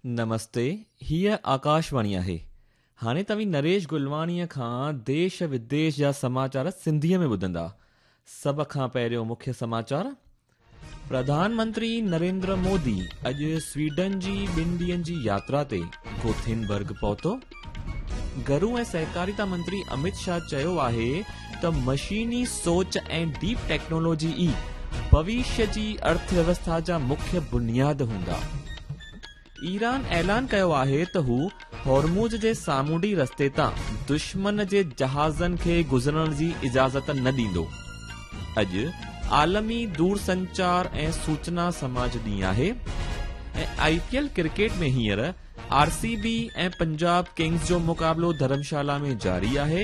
نمستي، هيء آڪاشواڻي آهي. هاڻي توهين نريش گلواڻيء کان ديش وديش جا سماچار سنڌيء ۾ ٻڌندا. سڀ کان پهريون مکيه سماچار. پرڌان منتري نريندر مودي اڄ سويڊن جي ٻن ڏينهن جي ياترا تي گوٿينبرگ پهتو. گهرو ۽ سهڪاريتا منتري امت شاهه چيو آهي ته مشيني سوچ ۽ ڊيپ ٽيڪنالاجي ئي ڀوشيه جي ارٿ ويوسٿا جا مکيه بنياد هوندا. ايران اعلان ڪيو آهي ته هو هرمز جي سامونڊي رستي تان دشمن جي جهازن کي گذرڻ جي اجازت نه ڏيندو. اڄ عالمي دورسنچار ۽ سوچنا سماج ڏينهن آهي ۽ آء پي ايل ڪرڪيٽ ۾ هينئر آر سي بي ۽ پنجاب ڪنگز جو مقابلو ڌرمشالا ۾ جاري آهي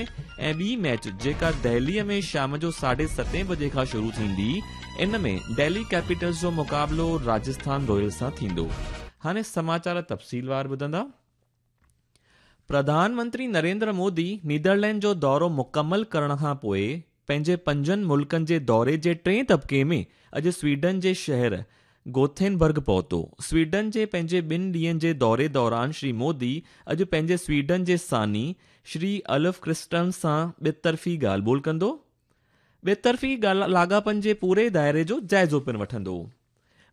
۽ ٻي ميچ جيڪا دهلي ۾ شام جو ساڍي ستين بجي کان شروع ٿيندي ان ۾ دهلي ڪيپيٽلز جو مقابلو راجسٿان رائلز سان ٿيندو. هاڻي سماچار تفصيلوار ٻڌندا. پرڌان منتري نريندر مودي نيدرلينڊ جو دورو مڪمل ڪرڻ کان پوء پنهنجي پنجن ملڪن جي دوري جي ٽئين طبقي ۾ اڄ سويڊن جي شهر گوٿينبرگ پهتو. سويڊن جي پنهنجي ٻن ڏينهن جي دوري دوران شري مودي اڄ پنهنجي سويڊن جي ثاني شري الف ڪرسٽرن سان ٻطرفي ڳالهه ٻولهه ڪندو. ٻطرفي لاڳاپن جي پوري دائري جو جائزو پڻ وٺندو.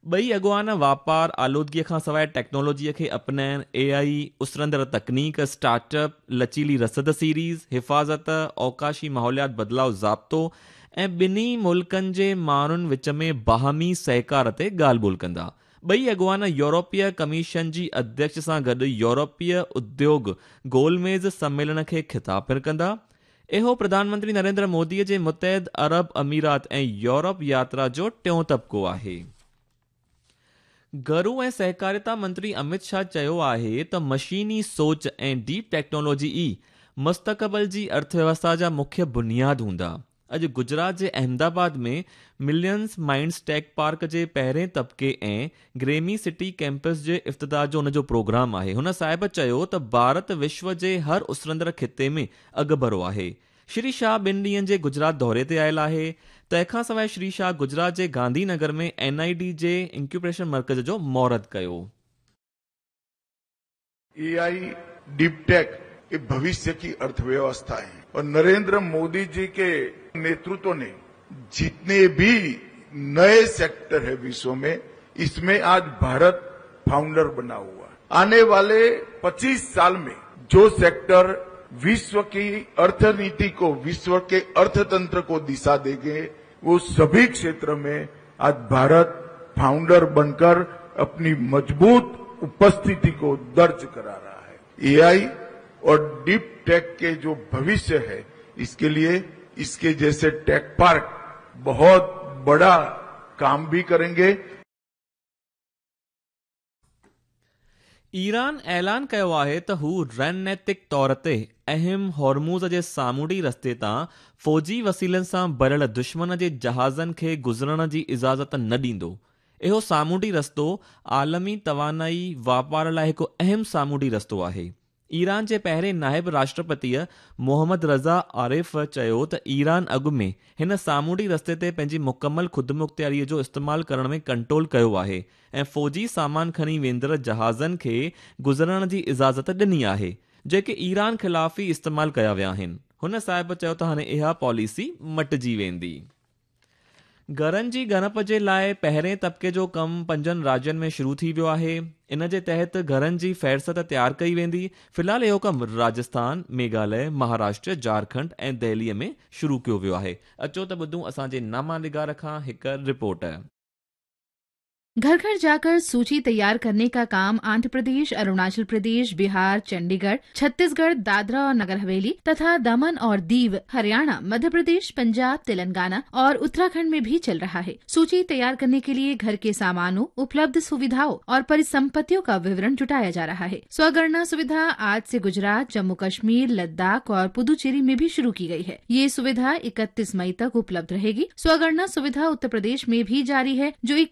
ٻئي اڳواڻ واپار، آلودگيء کان سواء ٽيڪنالاجيء کي اپنائڻ، اي آء، اسرندڙ تڪنيڪ، اسٽارٽ اپ، لچيلي رسد سيريز، حفاظت، اوقاشي ماحوليات بدلاء ضابطو ۽ ٻنهي ملڪن جي ماڻهن وچ ۾ باهمي سهڪار تي ڳالهه ٻولهه ڪندا. ٻئي اڳواڻ يورپي ڪميشن جي اڌيڪش سان گڏ يورپي اديوگ گول ميز سميلن کي خطاب پڻ ڪندا. اهو پرڌان منتري نريندر مودي جي متحد عرب اميرات ۽ يورپ ياترا جو ٽيون طبقو آهي. گهرو ۽ سهڪاريتا منتري امت شاهه چيو آهي ته مشيني سوچ ۽ ڊيپ ٽيڪنالاجي ئي مستقبل جي ارٿ ويوسٿا جا مکيه بنياد هوندا. اڄ گجرات جي احمدآباد ۾ ملينز مائنڊز ٽيڪ پارڪ جي پهرين طبقي ۽ گريمي سٽي ڪيمپس جي افتتاح جو ان جو پروگرام آهي. هن صاحب چيو ته ڀارت وشو جي هر اسرندڙ خطي ۾ اڳڀرو آهي. شري شاهه ٻن ڏينهن جي گجرات دوري تي آيل آهي. تنهن کان سواء شري شاهه گجرات جي گانڌي نگر ۾ اين I D جي انڪيوبيشن مرڪز جو مهورت ڪيو. اي I deep ٽيڪ ये भविष्य की अर्थव्यवस्था है और नरेंद्र मोदी जी के नेतृत्व ने जितने भी नए सेक्टर है विश्व में, इसमें आज भारत फाउंडर बना हुआ है। आने वाले 25 साल में जो सेक्टर विश्व की अर्थनीति को, विश्व के अर्थतंत्र को दिशा देंगे, वो सभी क्षेत्र में आज भारत फाउंडर बनकर अपनी मजबूत उपस्थिति को दर्ज करा रहा है। एआई और डीप टेक के जो भविष्य है, इसके लिए इसके जैसे टेक पार्क बहुत बड़ा काम भी करेंगे। ايران اعلان ڪيو آهي ته هو رڻنيتڪ طور تي اهم هرمز جي سامونڊي رستي تان فوجي وسيلن سان ڀريل دشمن جي جهازن کي گذرڻ جي اجازت نه ڏيندو. اهو سامونڊي رستو عالمي توانائي واپار لاء هڪ اهم سامونڊي رستو آهي. ايران جي پهرين نائب راشٽرپتيء محمد رضا عارف چيو ته ايران اڳ ۾ هن سامونڊي رستي تي پنهنجي مڪمل خودمختياريء جو استعمال ڪرڻ ۾ ڪنٽرول ڪيو آهي ۽ فوجي سامان کڻي ويندڙ جهازن کي گذرڻ جي اجازت ڏني آهي، جيڪي ايران خلاف ئي استعمال ڪيا ويا آهن. هن صاحب چيو ته هاڻي اها پاليسي مٽجي ويندي. گهرن جي ڳڻپ جي لاء پهرين طبقي جو ڪم پنجن راجين ۾ شروع ٿي ويو آهي. ان جي تحت گهرن جي فهرست تيار ڪئي ويندي. في الحال اهو ڪم راجسٿان، ميگهاليه، مهاراشٽر، جهارکنڊ ۽ دهلي ۾ شروع ڪيو ويو آهي. اچو ته ٻڌون اسان جي نامه نگار کان هڪ رپورٽ. घर घर जाकर सूची तैयार करने का काम आंध्र प्रदेश, अरुणाचल प्रदेश, बिहार, चंडीगढ़, छत्तीसगढ़, दादरा और नगर हवेली तथा दमन और दीव, हरियाणा, मध्य प्रदेश, पंजाब, तेलंगाना और उत्तराखंड में भी चल रहा है। सूची तैयार करने के लिए घर के सामानों, उपलब्ध सुविधाओं और परिसंपत्तियों का विवरण जुटाया जा रहा है। स्वगणना सुविधा आज से गुजरात, जम्मू कश्मीर, लद्दाख और पुदुचेरी में भी शुरू की गई है। ये सुविधा 31 मई तक उपलब्ध रहेगी। स्वगणना सुविधा उत्तर प्रदेश में भी जारी है, जो